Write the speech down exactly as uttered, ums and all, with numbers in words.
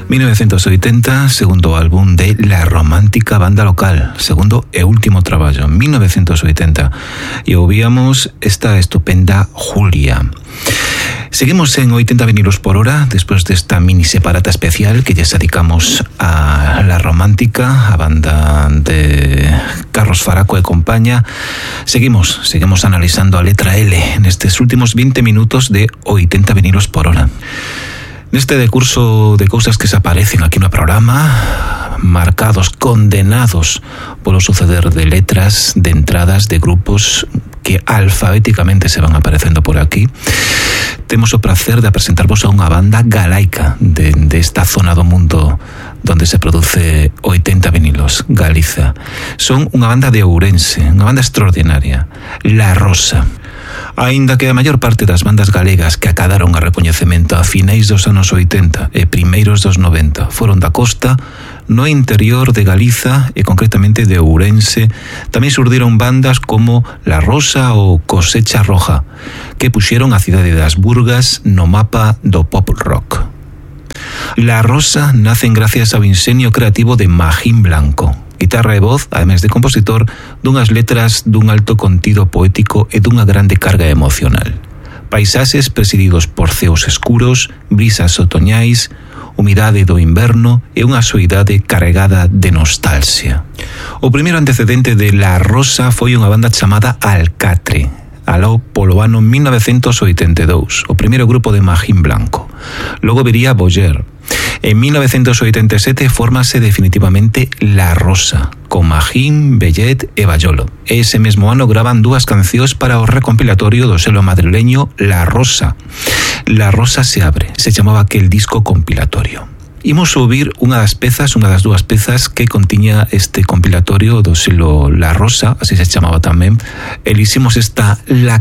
mil novecientos oitenta, segundo álbum de La Romántica Banda Local, segundo e último traballo, mil novecientos oitenta. E ouvíamos esta estupenda Julia. Seguimos en oitenta vinilos por hora despois desta mini separata especial que lles dedicamos a La Romántica, a banda de Carlos Faraco e compañía. Seguimos, seguimos analizando a letra L nestes últimos vinte minutos de oitenta vinilos por hora. Neste decurso de cousas que se aparecen aquí no programa, marcados, condenados polo suceder de letras, de entradas, de grupos que alfabéticamente se van aparecendo por aquí, temos o placer de presentarvos a unha banda galaica de, de esta zona do mundo donde se produce oitenta vinilos, Galiza. Son unha banda de Ourense, unha banda extraordinaria, La Rosa. Aínda que a maior parte das bandas galegas que acadaron a recoñecemento a finais dos anos oitenta e primeiros dos noventa foron da costa, no interior de Galiza e concretamente de Ourense tamén surdiron bandas como La Rosa ou Cosecha Roja, que puxeron a cidade das Burgas no mapa do pop rock. La Rosa nacen gracias ao ingenio creativo de Magín Blanco, guitarra e voz, ademais de compositor, dunhas letras dun alto contido poético e dunha grande carga emocional. Paisaxes presididos por ceos escuros, brisas otoñais, humidade do inverno e unha soidade carregada de nostalgia. O primeiro antecedente de La Rosa foi unha banda chamada Alcatre, aló polo ano mil novecientos oitenta e dous, o primeiro grupo de Magín Blanco. Logo viría Boyer. En mil novecientos oitenta e sete fórmase definitivamente La Rosa, con Magín, Bellet e Bayolo. Ese mesmo ano graban dúas cancións para o recompilatorio do selo madrileño La Rosa. La Rosa se abre, se chamaba aquel disco compilatorio. Imos subir unha das pezas, unha das dúas pezas que contiña este compilatorio do selo La Rosa, así se chamaba tamén. Eliximos esta La